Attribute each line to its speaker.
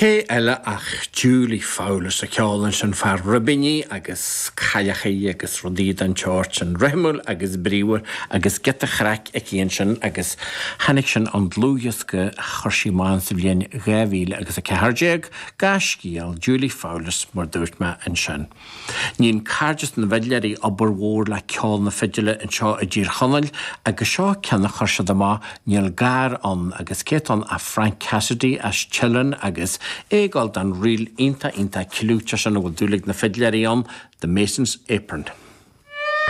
Speaker 1: Cé eile ach Julie Fowlis a cheol ansin fá ribíní agus cailleachaí agus rudaí den tseort sin. Rithimiúil agus bríomhar agus giota chraic aici ansin agus tháinig sin ón dlúthdhiosca a chuir sí amach sa bhliain 2000 agus 14, Gaiscéal, Julie Fowlis mar dúirt mé ansin. Níonn Cairdeas na bhFidléirí obair mhór le ceol na fidile anseo i dTír Chonaill agus seo ceann a chuir siad amach, Níl Gar Ann agus cé atá ann ach Frank Cassidy as Teileann agus é ag gabháil don ríl iontach iontach clúiteach sin a bhfuil dúil ag na fidléirí ann, The Mason's Apron.